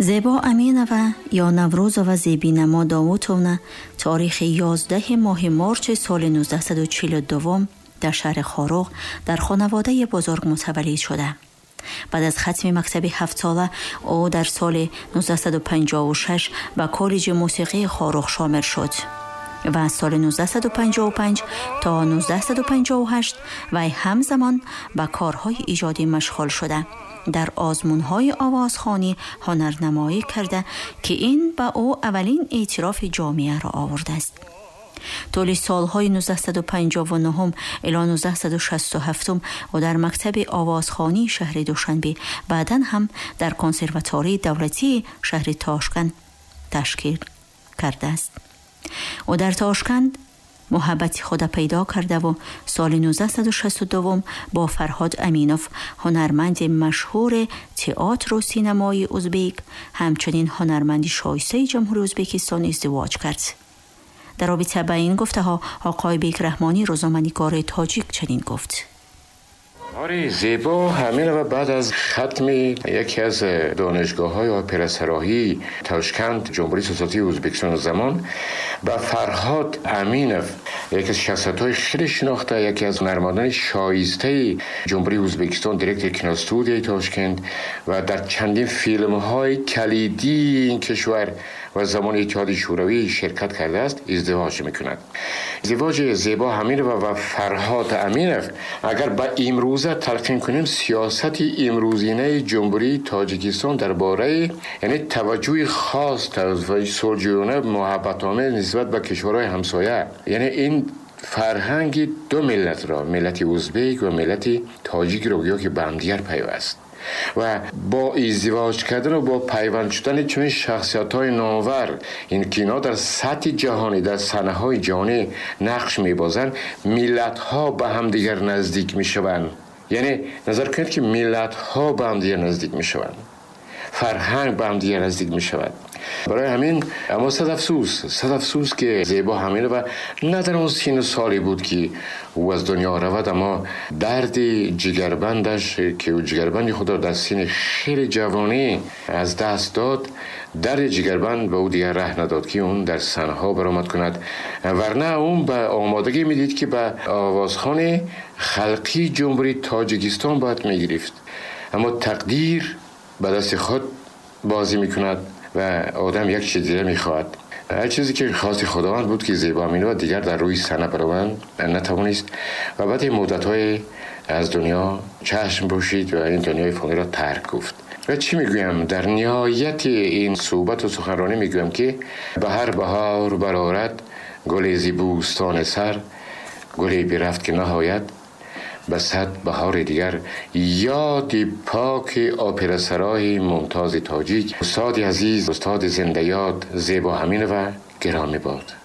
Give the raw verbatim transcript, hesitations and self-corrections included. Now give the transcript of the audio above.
Зебо Аминова ё Наврӯзова Зебинамо Довудовна таърихи ёздаҳ моҳи марч соли нуздаҳсаду чилу дуввум дар шаҳри Хоруғ дар хонаводаи бузург мутаваллид шуда. Баъд аз хатми мактаби ҳафтсола ӯ дар соли нуздаҳсаду панҷоҳу шаш ба коллеҷи мусиқии Хоруғ шомил шуд ва аз соли нуздаҳсаду панҷоҳу панҷ то нуздаҳсаду панҷоҳу ҳашт вай ҳамзамон ба корҳои иҷодӣ машғул шуда, дар озмунҳои овозхонӣ ҳунарнамоӣ карда ки ин ба ӯ аввалин эътирофи ҷомеаро овардааст. Тӯли солҳои нуздаҳсаду панҷоҳу нуҳум ило нуздаҳсаду шасту ҳафтум ӯ дар мактаби овозхонии шаҳри Душанбе, баъдан ҳам дар консерваторияи давлатии шаҳри Тошканд ташкил кардааст. Ӯ дар Тошканд муҳаббати худа пайдо кардаву соли нуздаҳсаду шасту дуввум бо Фарҳод Аминов, ҳунарманди машҳури театру синамои узбек, ҳамчунин ҳунарманди шоистаи Ҷумҳурии Ӯзбекистон издивоҷ кард. Дар робита ба ин гуфтаҳо Оқои Бек Раҳмонӣ, рӯзноманигори тоҷик, чунин гуфт: آره، زیبا همین و بعد از ختم یکی از دانشگاه‌های اپراسراهی تاشکند جمهوری سوسیالیستی ازبکستان زمان با فرهاد امینов، یکی از شخصیت‌های خیلی شناخته، یکی از هنرمندان شایسته جمهوری ازبکستان، دیرکتور کینوستودیوی تاشکند و در چندین فیلم‌های کلیدی این کشور و زمان اتحاد شوروی شرکت کرده است، ازدواج میکند. ازدواج زیبا امینова و فرهاد امینов اگر به امروزه تلقین کنیم، سیاست امروزینه جمهوری تاجیکستان درباره یعنی توجه خاص و صلحجویانه محبت‌آمیز نسبت به کشورهای همسایه، یعنی این فرهنگ دو ملت را، ملت ازبک و ملت تاجیک را گویا که به همدیگر پیوست و با ازدواج کردن و با پیوند شدن چنین شخصیت‌های نامور، این که اینا در سطح جهانی، در صحنه‌های جهانی نقش می‌بازند، ملت‌ها به همدیگر نزدیک می‌شوند. یعنی نظر کنید که ملت‌ها به همدیگر نزدیک می‌شوند، فرهنگ به همدیگر نزدیک می‌شود. برای همین اما صد افسوس، صد افسوس که زیبا همین و نه در اون سین سالی بود که او از دنیا رود، اما درد جگربندش که او جگربند خود را در سین خیلی جوانی از دست داد، درد جگربند به او دیگر ره نداد که اون در صحنه‌ها برآمد کند، ورنه اون به آمادگی میدید که به آوازخوان خلقی جمهوری تاجیکستان باید میگرفت، اما تقدیر به دست خود بازی میکند و آدم یک چیز دیگه میخواد. هر چیزی که خواست خداوند بود که زیبا امینова دیگر در روی صحنه بروند نتوانست و بعد مدت‌های از دنیا چشم پوشید و این دنیای فانی را ترک گفت. و چی میگویم؟ در نهایت این صحبت و سخنرانی میگویم که به هر بهار برآرد گل زی بوستان سر، گلی برفت که نهایت به صد بهار دیگر. یاد پاک اپراسرای ممتاز تاجیک، استاد عزیز، استاد زنده یاد زیبا امینova گرامی باد.